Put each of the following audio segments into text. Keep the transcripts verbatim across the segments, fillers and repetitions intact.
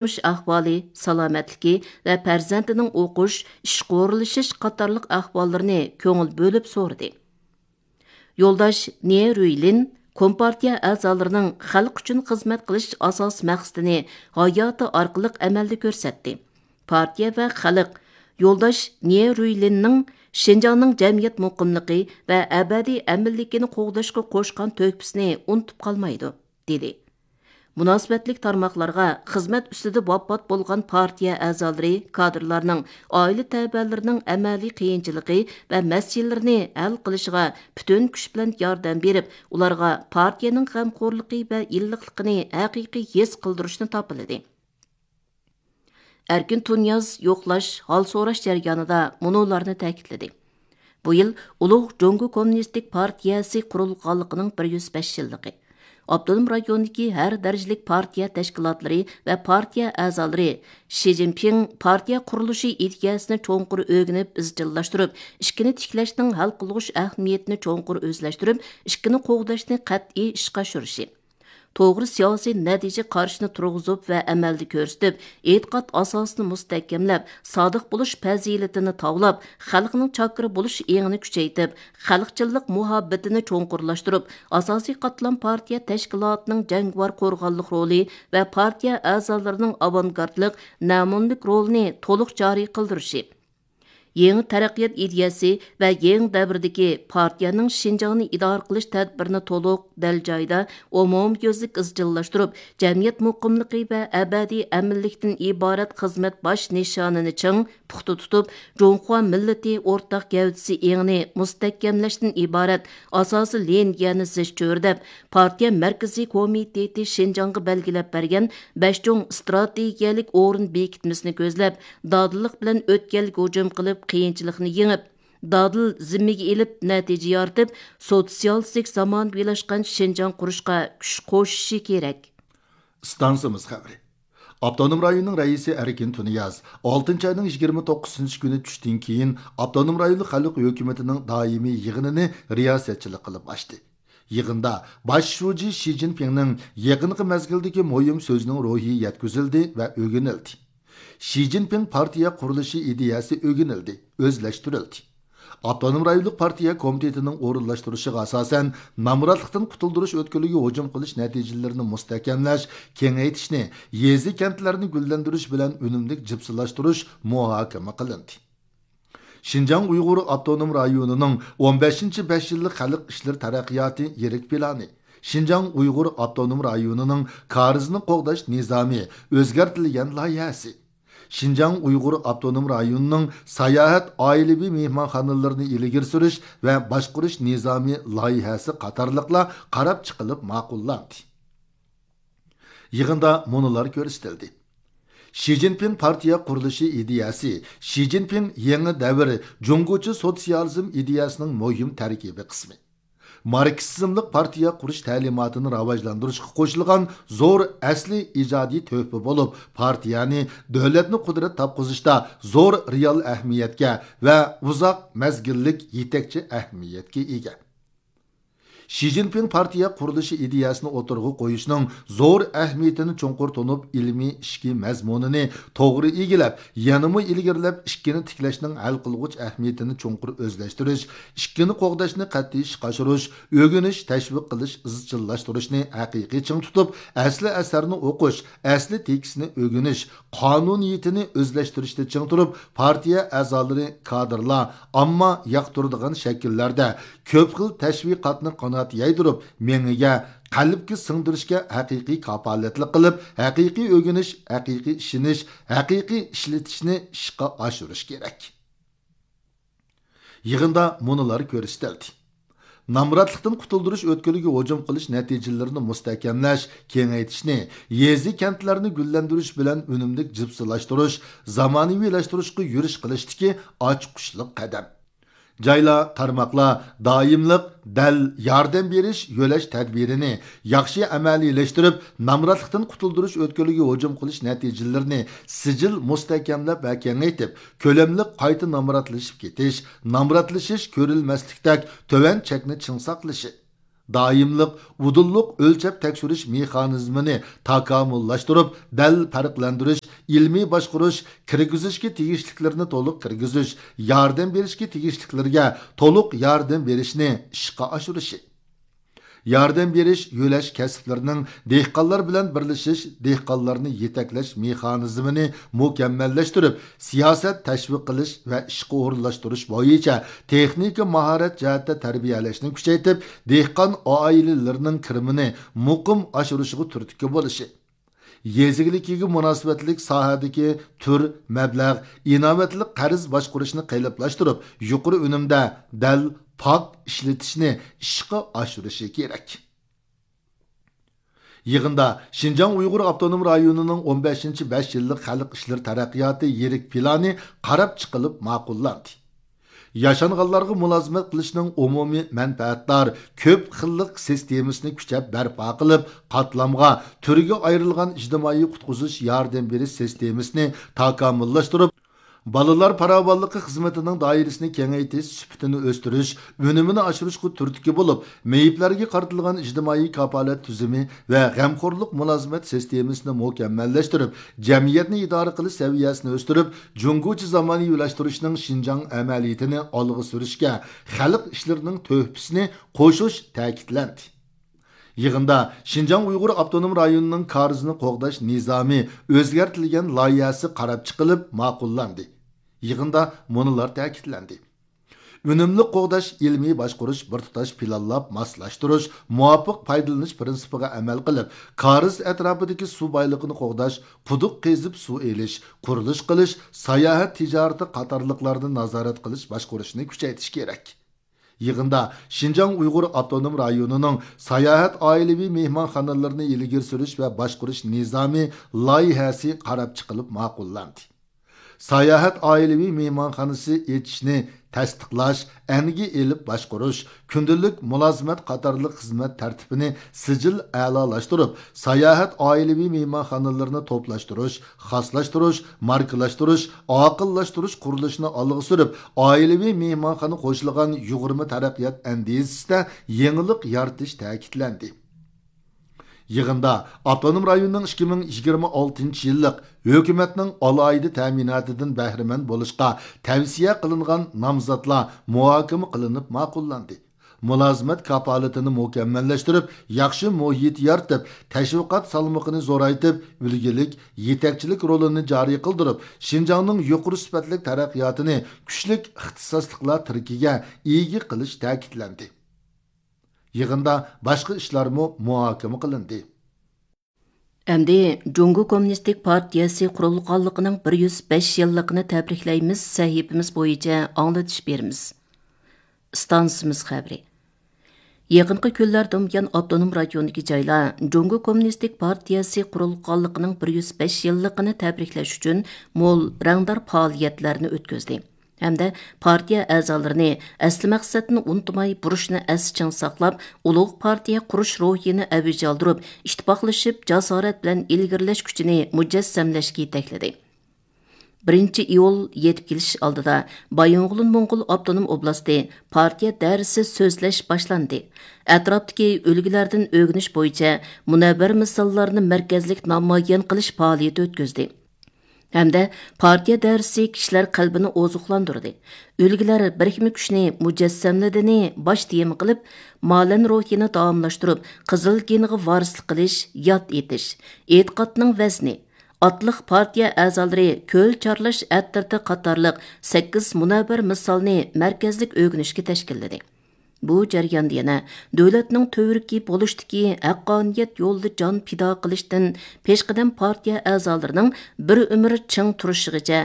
تۇرمۇش ئەھۋالى، سالامەتلىكى ۋە پەرزەنتىنىڭ ئوقۇش، ئىشقا ئورۇنلىشىش قاتارلىق ئەھۋاللىرىنى كۆڭۈل بۆلۈپ سورىدى. يولداش نيې رۇيلىن كومپارتىيە ئەزالىرىنىڭ خەلق ئۈچۈن خىزمەت قىلىش ئاساسىي مەقسىتىنى ھاياتى ئارقىلىق ئەمەلدە كۆرسەتتى. پارتىيە ۋە خەلق يولداش نيې رۇيلىننىڭ شىنجاڭنىڭ جەمئىيەت مۇقىملىقى ۋە ئەبەدىي ئەمىنلىكىنى قوغداشقا قوشقان تۆھپىسىنى ئۇنتۇپ قالمايدۇ، دېدى. مۇناسىۋەتلىك تارماقلارغا خىزمەت ئۈستىدە ۋاپات بولغان پارتىيە ئەزالىرى، كادىرلارنىڭ ئائىلە تەۋەلىرىنىڭ ئەمەلىي قىيىنچىلىقى ۋە مەسىلىلىرىنى ھەل قىلىشىغا پۈتۈن كۈچ بىلەن ياردەم بېرىپ، ئۇلارغا پارتىيەنىڭ غەمخورلۇقى ۋە ئىللىقلىقىنى ھەقىقىي ھېس قىلدۇرۇشنى تاپىلىدى. ئەركىن تۇنىياز يوقلاش، ھال سوراش جەريانىدا مۇنۇلارنى تەكىتلىدى: بۇ يىل ئۇلۇغ جۇڭگو كوممۇنىستىك پارتىيەسى قۇرۇلغانلىقىنىڭ بىر يۈز بەش يىللىقى. ئاپتونوم رايوندىكى ھەر دەرىجىلىك پارتىيە تەشكىلاتلىرى ۋە پارتىيە ئەزالىرى شى جىنپىڭ پارتىيە قۇرۇلۇشى ئىدىيەسىنى چوڭقۇر ئۆگىنىپ ئىزچىللاشتۇرۇپ، ئىككىنى تىكلەشنىڭ ھەل قىلغۇچ ئەھمىيىتىنى چوڭقۇر ئۆزلەشتۈرۈپ، ئىككىنى قوغداشنى قەتئىي ئىشقا ئاشۇرۇشى، توغرا سىياسىي نەتىجە قارىشىنى تۇرغۇزۇپ ۋە ئەمەلدە كۆرسىتىپ، ئېتىقاد ئاساسىنى مۇستەھكەملەپ، سادىق بولۇش پەزىلىتىنى تاۋلاپ، خەلقنىڭ چاكىرى بولۇش ئېڭىنى كۈچەيتىپ، خەلقچىللىق مۇھەببىتىنى چوڭقۇرلاشتۇرۇپ، ئاساسىي قاتلام پارتىيە تەشكىلاتىنىڭ جەڭگىۋار قورغانلىق رولى ۋە پارتىيە ئەزالىرىنىڭ ئاۋانگارتلىق، نەمۇنىلىك رولىنى تولۇق جارى قىلدۇرۇشى، يېڭى تەرەققىيات ئىدىيەسى ۋە يېڭى دەۋردىكى پارتىيەنىڭ شىنجاڭنى ئىدارە قىلىش تەدبىرىنى تولۇق، دەل جايىدا، ئومۇميۈزلۈك ئىزچىللاشتۇرۇپ، جەمئىيەت مۇقىملىقى ۋە ئەبەدىي ئەمىنلىكتىن ئىبارەت خىزمەت باش نىشانىنى چىڭ، پۇختا تۇتۇپ، جۇڭخۇا مىللىتى ئورتاق گەۋدىسى ئېڭىنى مۇستەھكەملەشتىن ئىبارەت ئاساسىي لىنىيەنى زىچ چۆرىدەپ، پارتىيە مەركىزىي كومىتېتى شىنجاڭغا بەلگىلەپ بەرگەن بەش چوڭ ئىستراتېگىيەلىك ئورۇن بېكىتمىسىنى كۆزلەپ، دادىللىق بىلەن ئۆتكەلگە ھۇجۇم قىلىپ، قىيىنچىلىقنى يېڭىپ، دادىل زىممىگە ئېلىپ، نەتىجە يارىتىپ، سوتسىيالىستىك زامانىۋىلاشقان شىنجاڭ قۇرۇشقا كۈچ قوشۇشى كېرەك. ئىستانسىمىز خەۋىرى. ئاپتونوم رايوننىڭ رەئىسى ئەركىن تۇنىياز ئالتىنچى ئاينىڭ يىگىرمە توققۇزىنچى كۈنى چۈشتىن كېيىن ئاپتونوم رايونلۇق خەلق ھۆكۈمىتىنىڭ دائىمىي يىغىنىنى رىياسەتچىلىك قىلىپ ئاچتى. يىغىندا باش شۇجى شى جىنپىڭنىڭ يېقىنقى مەزگىلدىكى مۇھىم سۆزىنىڭ روھى يەتكۈزۈلدى ۋە ئۆگىنىلدى. شى جىنپىڭ پارتىيە قۇرۇلۇشى ئىدىيەسى ئۆگىنىلدى، ئۆزلەشتۈرۈلدى. ئاپتونوم رايونلۇق پارتىيە كومىتېتىنىڭ ئورۇنلاشتۇرۇشىغا ئاساسەن، نامراتلىقتىن قۇتۇلدۇرۇش ئۆتكىلىگە ھۇجۇم قىلىش نەتىجىلىرىنى مۇستەھكەملەش، كېڭەيتىشنى، يېزا، كەنتلەرنى گۈللەندۈرۈش بىلەن ئۈنۈملۈك جىپسىلاشتۇرۇش مۇھاكىمە قىلىندى. شىنجاڭ ئۇيغۇر ئاپتونوم رايونىنىڭ ئون بەشىنچى بەش يىللىق خەلق ئىشلىرى تەرەققىياتى يىرىك پىلانى، شىنجاڭ ئۇيغۇر ئاپتونوم رايونىنىڭ كارىزنى قوغداش نىزامى ئۆزگەرتىلگەن لايىھەسى، شىنجاڭ ئۇيغۇر ئاپتونوم رايونىنىڭ ساياھەت ئائىلىۋى مېھمانخانىلىرىنى ئىلگىرى سۈرۈش ۋە باشقۇرۇش نىزامى لايىھەسى قاتارلىقلار قاراپ چىقىلىپ ماقۇللاندى. يىغىندا مۇنۇلار كۆرسىتىلدى. شى جىنپىڭ پارتىيە قۇرۇلۇشى ئىدىيەسى، شى جىنپىڭ يېڭى دەۋر جۇڭگوچە سوتسىيالىزم ئىدىيەسىنىڭ مۇھىم تەركىبىي قىسمى. ماركسىزملىق پارتىيە قۇرۇش تەلىماتىنى راۋاجلاندۇرۇشقا قوشۇلغان زور ئەسلىي ئىجادىي تۆھپە بولۇپ، پارتىيەنى دۆلەتنى قۇدرەت تاپقۇزۇشتا زور رېئال ئەھمىيەتكە ۋە ئۇزاق مەزگىللىك يېتەكچى ئەھمىيەتكە ئىگە. شى جىنپىڭ پارتىيە قۇرۇلۇشى ئىدىيەسىنى ئوتتۇرىغا قويۇشنىڭ زور ئەھمىيىتىنى چوڭقۇر تونۇپ، ئىلمىي ئىچكى مەزمۇنىنى توغرا ئىگىلەپ، يەنىمۇ ئىلگىرىلەپ، ئىككىنى تىكلەشنىڭ ھەل قىلغۇچ ئەھمىيىتىنى چوڭقۇر ئۆزلەشتۈرۈش، ئىككىنى قوغداشنى قەتئىي ئىشقا ئاشۇرۇش، ئۆگىنىش، تەشۋىق قىلىش، ئىزچىللاشتۇرۇشنى ھەقىقىي چىڭ تۇتۇپ، ئەسلى ئەسەرنى ئوقۇش، ئەسلى تېكىستنى ئۆگىنىش، قانۇنىيىتىنى ئۆزلەشتۈرۈشتە چىڭ تۇرۇپ، پارتىيە ئەزالىرى، كادىرلار ئامما ياقتۇرىدىغان شەكىللەردە كۆپ خىل تەشۋىقاتنى قانات يايدۇرۇپ، مېڭىگە، قەلبكە سىڭدۈرۈشكە ھەقىقىي كاپالەتلىك قىلىپ، ھەقىقىي ئۆگىنىش، ھەقىقىي ئىشىنىش، ھەقىقىي ئىشلىتىشنى ئىشقا ئاشۇرۇش كېرەك. يىغىندا مۇنۇلار كۆرسىتىلدى. نامراتلىقتىن قۇتۇلدۇرۇش ئۆتكىلىگە ھۇجۇم قىلىش نەتىجىلىرىنى مۇستەھكەملەش، كېڭەيتىشنى، يېزا، كەنتلەرنى گۈللەندۈرۈش بىلەن ئۈنۈملۈك جىپسىلاشتۇرۇش، زامانىۋىلاشتۇرۇشقا يۈرۈش قىلىشتىكى ئاچقۇچلۇق قەدەم. جايلار، تارماقلار دائىملىق دەل ياردەم بېرىش، يۆلەش تەدبىرىنى ياخشى ئەمەلىيلەشتۈرۈپ، نامراتلىقتىن قۇتۇلدۇرۇش ئۆتكىلىگە ھۇجۇم قىلىش نەتىجىلىرىنى سىجىل مۇستەھكەملەپ ۋە كېڭەيتىپ، كۆلەملىك قايتا نامراتلىشىپ كېتىش، نامراتلىشىش كۆرۈلمەسلىكتەك تۆۋەن چەكنى چىڭ ساقلىشى، دائىملىق ئۇدۇللۇق ئۆلچەپ تەكشۈرۈش مېخانىزمىنى تاكامۇللاشتۇرۇپ، دەل پەرقلەندۈرۈش، ئىلمىي باشقۇرۇش، كىرگۈزۈشكە تېگىشلىكلىرىنى تولۇق كىرگۈزۈش، ياردەم بېرىشكە تېگىشلىكلىرىگە تولۇق ياردەم بېرىشنى ئىشقا ئاشۇرۇشى. ياردەم بېرىش، يۆلەش كەسىپلىرىنىڭ دېھقانلار بىلەن بىرلىشىش، دېھقانلارنى يېتەكلەش مېخانىزمىنى مۇكەممەللەشتۈرۈپ، سىياسەت تەشۋىق قىلىش ۋە ئىشقا ئورۇنلاشتۇرۇش بويىچە تېخنىكا ماھارەت جەھەتتە تەربىيەلەشنى كۈچەيتىپ، دېھقان ئائىلىلىرىنىڭ كىرىمىنى مۇقىم ئاشۇرۇشىغا تۈرتكە بولۇشى. يېزا ئىگىلىكىگە مۇناسىۋەتلىك ساھەدىكى تۈر، مەبلەغ، ئىناۋەتلىك قەرز باشقۇرۇشنى قېلىپلاشتۇرۇپ، يۇقىرى ئۈنۈمدە دەل پاك ئىشلىتىشنى ئىشقا ئاشۇرۇشى كېرەك. يىغىندا شىنجاڭ ئۇيغۇر ئاپتونوم رايونىنىڭ ئون بەشىنچى بەش يىللىق خەلق ئىشلىرى تەرەققىياتى يىرىك پىلانى قاراپ چىقىلىپ ماقۇللاندى. ياشانغانلارغا مۇلازىمەت قىلىشنىڭ ئومۇمىي مەنپەئەتدار، كۆپ خىللىق سىستېمىسىنى كۈچەپ بەرپا قىلىپ، قاتلامغا، تۈرگە ئايرىلغان ئىجتىمائىي قۇتقۇزۇش ياردەم بېرىش سىستېمىسىنى تاكامۇللاشتۇرۇپ، بالىلار پاراۋانلىقى خىزمىتىنىڭ دائىرىسىنى كېڭەيتىش، سۈپىتىنى ئۆستۈرۈش، ئۈنۈمىنى ئاشۇرۇشقا تۈرتكە بولۇپ، مېيىپلەرگە قارىتىلغان ئىجتىمائىي كاپالەت تۈزۈمى ۋە غەمخورلۇق مۇلازىمەت سىستېمىسىنى مۇكەممەللەشتۈرۈپ، جەمئىيەتنى ئىدارە قىلىش سەۋىيەسىنى ئۆستۈرۈپ، جۇڭگوچە زامانىۋىلاشتۇرۇشنىڭ شىنجاڭ ئەمەلىيىتىنى ئالغا سۈرۈشكە خەلق ئىشلىرىنىڭ تۆھپىسىنى قوشۇش تەكىتلەندى. يىغىندا شىنجاڭ ئۇيغۇر ئاپتونوم رايونىنىڭ كارىزنى قوغداش نىزامى ئۆزگەرتىلگەن لايىھەسى قاراپ چىقىلىپ ماقۇللاندى. يىغىندا مۇنۇلار تەكىتلەندى: ئۈنۈملۈك قوغداش، ئىلمىي باشقۇرۇش، بىر تۇتاش پىلانلاپ ماسلاشتۇرۇش، مۇۋاپىق پايدىلىنىش پىرىنسىپىغا ئەمەل قىلىپ، كارىز ئەتراپىدىكى سۇ بايلىقىنى قوغداش، قۇدۇق قېزىپ سۇ ئېلىش، قۇرۇلۇش قىلىش، ساياھەت تىجارىتى قاتارلىقلارنى نازارەت قىلىش باشقۇرۇشنى كۈچەيتىش كېرەك. يىغىندا شىنجاڭ ئۇيغۇر ئاپتونوم رايونىنىڭ ساياھەت ئائىلىۋى مېھمانخانىلىرىنى ئىلگىرى سۈرۈش ۋە باشقۇرۇش نىزامى لايىھەسى قاراپ چىقىلىپ ماقۇللاندى. ساياھەت ئائىلىۋى مېھمانخانىسى ئېچىشنى تەستىقلاش، ئەنگە ئېلىپ باشقۇرۇش، كۈندىلىك مۇلازىمەت قاتارلىق خىزمەت تەرتىپىنى سىجىل ئەلالاشتۇرۇپ، ساياھەت ئائىلىۋى مېھمانخانىلىرىنى توپلاشتۇرۇش، خاسلاشتۇرۇش، ماركىلاشتۇرۇش، ئاقىللاشتۇرۇش قۇرۇلۇشىنى ئالغا سۈرۈپ، ئائىلىۋى مېھمانخانا قوشۇلغان يۇغۇرما تەرەققىيات ئەندىزىسىدە يېڭىلىق يارىتىش تەكىتلەندى. يىغىندا ئاپتونوم رايوننىڭ ئىككى مىڭ يىگىرمە ئالتىنچى يىللىق ھۆكۈمەتنىڭ ئالاھىدە تەمىناتىدىن بەھرىمەن بولۇشقا تەۋسىيە قىلىنغان نامزاتلار مۇھاكىمە قىلىنىپ ماقۇللاندى. مۇلازىمەت كاپالىتىنى مۇكەممەللەشتۈرۈپ، ياخشى مۇھىت يارىتىپ، تەشۋىقات سالمىقىنى زورايتىپ، ئۈلگىلىك يېتەكچىلىك رولىنى جارى قىلدۇرۇپ، شىنجاڭنىڭ يۇقىرى سۈپەتلىك تەرەققىياتىنى كۈچلۈك ئىختىساسلىقلار تىرىكىگە ئىگە قىلىش تەكىتلەندى. يىغىندا باشقا ئىشلارمۇ مۇھاكىمە قىلىندى. ئەمدى جۇڭگو كوممۇنىستىك پارتىيەسى قۇرۇلغانلىقىنىڭ بىر يۈز بەش يىللىقىنى تەبرىكلەيمىز سەھىپىمىز بويىچە ئاڭلىتىش بېرىمىز. ئىستانسىمىز خەۋىرى. يېقىنقى كۈنلەردىن بۇيان ئاپتونوم رايوندىكى جايلار جۇڭگو كوممۇنىستىك پارتىيەسى قۇرۇلغانلىقىنىڭ بىر يۈز بەش يىللىقىنى تەبرىكلەش ئۈچۈن مول رەڭدار پائالىيەتلەرنى ئۆتكۈزدى ھەمدە پارتىيە ئەزالىرىنى ئەسلى مەقسەتنى ئۇنتۇماي، بۇرچنى ئەستە چىڭ ساقلاپ، ئۇلۇغ پارتىيە قۇرۇش روھىنى ئەۋج ئالدۇرۇپ، ئىتتىپاقلىشىپ، جاسارەت بىلەن ئىلگىرىلەش كۈچىنى مۇجەسسەملەشكە يېتەكلىدى. بىرىنچى ئىيۇل يېتىپ كېلىش ئالدىدا بايىنغولىن موڭغۇل ئاپتونوم ئوبلاستى پارتىيە دائىرىسى سۆزلەش باشلاندى. ئەتراپتىكى ئۈلگىلەردىن ئۆگىنىش بويىچە مۇنەۋۋەر مىساللارنى مەركەزلىك نامايان قىلىش پائالىيىتى ئۆتكۈزدى. ھەمدە پارتىيە دائىرىسى كىشىلەر قەلبىنى ئوزۇقلاندۇردى. ئۈلگىلەر بىرىكمە كۈچنى مۇجەسسەملىدىنى باش تېما قىلىپ، مالەن روھىنى داۋاملاشتۇرۇپ، قىزىل گېنغا ۋارىسلىق قىلىش، ياد ئېتىش، ئېتىقادنىڭ ۋەزنى، ئاتلىق پارتىيە ئەزالىرى كۆل چارلاش ئەترىتى قاتارلىق سەككىز مۇنەۋۋەر مىسالنى مەركەزلىك ئۆگىنىشكە تەشكىللىدى. بۇ جەرياندا يەنە دۆلەتنىڭ تۈۋرۈكى بولۇشتىكى ھەققانىيەت يولىدا جان پىدا قىلىشتىن پېشقەدەم پارتىيە ئەزالىرىنىڭ بىر ئۆمۈر چىڭ تۇرۇشىغىچە،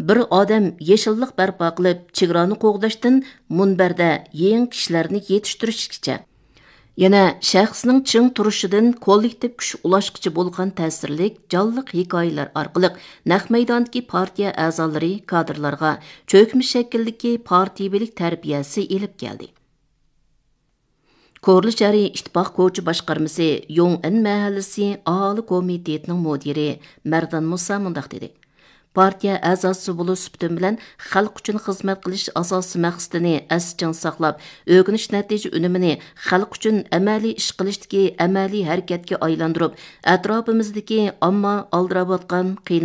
بىر ئادەم يېشىللىق بەرپا قىلىپ، چېگرانى قوغداشتىن مۇنبەردە يېڭى كىشىلەرنى يېتىشتۈرۈشكىچە، يەنە شەخسنىڭ چىڭ تۇرۇشىدىن كوللېكتىپ كۈچ ئۇلاشقىچە بولغان تەسىرلىك، جانلىق ھېكايىلەر ئارقىلىق نەق مەيداندىكى پارتىيە ئەزالىرى، كادىرلارغا چۆكمە شەكىلدىكى پارتىيىۋىلىك تەربىيەسى ئېلىپ كەلدى. كورلا شەھىرى ئىتتىپاق كوچا باشقارمىسى يوڭئەن مەھەللىسى ئاھالە كومىتېتىنىڭ مۇدىرى مەردان مۇسا مۇنداق دېدى: پارتىيە ئەزاسى بولۇش سۈپىتىم بىلەن خەلق ئۈچۈن خىزمەت قىلىش ئاساسىي مەقسىتىنى ئەستە چىڭ ساقلاپ، ئۆگىنىش نەتىجە ئۈنۈمىنى خەلق ئۈچۈن ئەمەلىي ئىش قىلىشتىكى ئەمەلىي ھەرىكەتكە ئايلاندۇرۇپ، ئەتراپىمىزدىكى ئامما ئالدىراۋاتقان، قىينىلىۋاتقان،